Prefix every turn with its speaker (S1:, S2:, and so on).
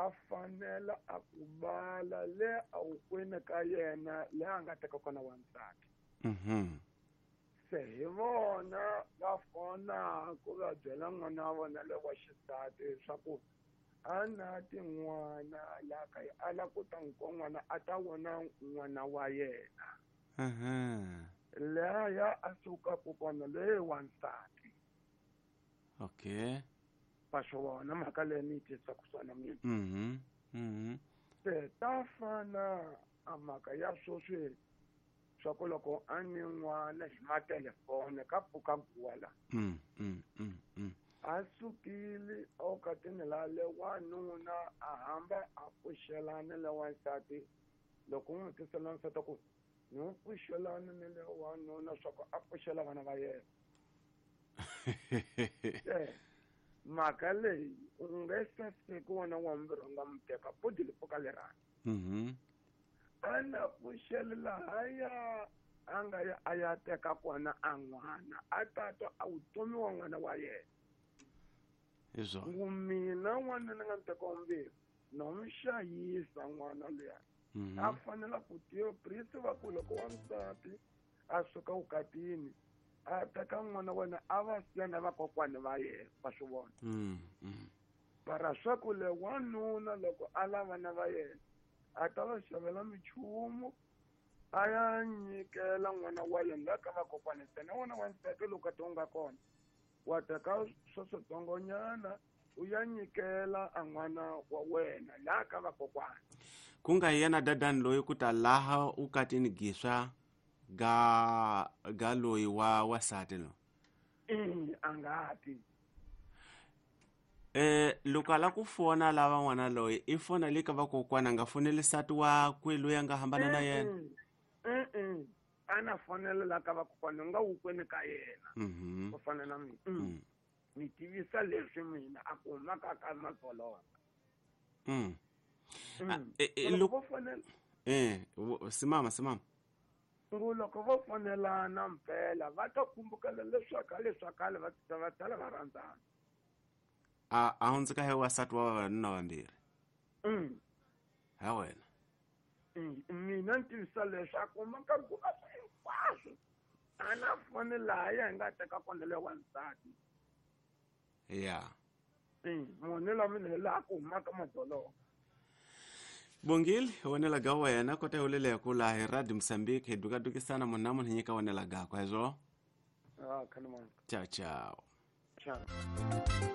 S1: A fanela a ku bala le a wukwini ka yena le a nga teka kona wansati. Se hi vona va fonaku va byela n'wana wa vona le wa xisati leswaku a na tin'wana la ka a la ku ta n'wi n'wana a ta vona n'wana wa yena. Leya a sukaku kona leyi wansati.
S2: Okay.
S1: Va swi vona mhaka leyi ni yi twisaka swona mina. Se ta fana a mhaka ya sweswi swa ku loko a ni n'wana hi matelefoni ka pfuka guwa la. A sukile okatini la le wanuna a hamba a pfuxelana le wansati loko n'wi tisela wansati ku ni n'wi pfuxelana ni le wanuna swa ku a pfuxela vana va yena. Mhaka leyi u nge se siku wena wa mbirhi u nga mu teka pudi li pfuka lerani. A na pfuxela lahaya a nga ya a ya teka kona a n'wana a tatwa a vutomi wa n'wana wa yena. Ngu mina n'wana ni nga ni teka wa mbirhi no n'wi xayisa n'wana luya. A fanela ku tiva priest va ku loko wansati a suka vukatini a teka n'wana wa wena a va siya na vakokwani va yena va swi vona. Para swa ku le wanuna loko a lava na va yena a ta va xavela minchumu a ya nyikela n'wana wa yena la ka vakokwani ntsena n'wana wa nsati loko a ti nga kona wa teka swa switsongonyana u ya nyikela a n'wana wa wena la ka vakokwani.
S2: Ku nga yena dadani loyi ku ta laha u katini giswa ga loyi wa wasati lo.
S1: A nga ti.
S2: Loko ala ku fona lava n'wana loyi i fona le ka vakokwana a nga foneli nsati wakwe loyi a nga hambana na yena.
S1: A na fonela la ka vakokwana nga wukweni ka yena. Ku fana na mina. Ni tivisa leswi mina a ku humaka ka madzolonga. Loko vo fonela
S2: simama.
S1: Ngu loko vo fonelana mpela va ta kumbukela leswaku leswa khale va va tala va rhandzana.
S2: A hundzuka hi wasati wa vavanuna vambirhi. Ha wena.
S1: Mina ni tivisa leswaku maka guva hinkwaswo a na foni lahaya hi nga teka kona le wansati.
S2: Ya.
S1: Munhu la mina hi laha ku humaka madzolonga.
S2: Bongile wonela ga wena kota hi uleleko laha hi Radio Mozambique hi dukadukisana munhu na munhu hi nyika wonela gakwe hezwo.
S1: Khalimani.
S2: Ciao ciao.
S1: Ciao.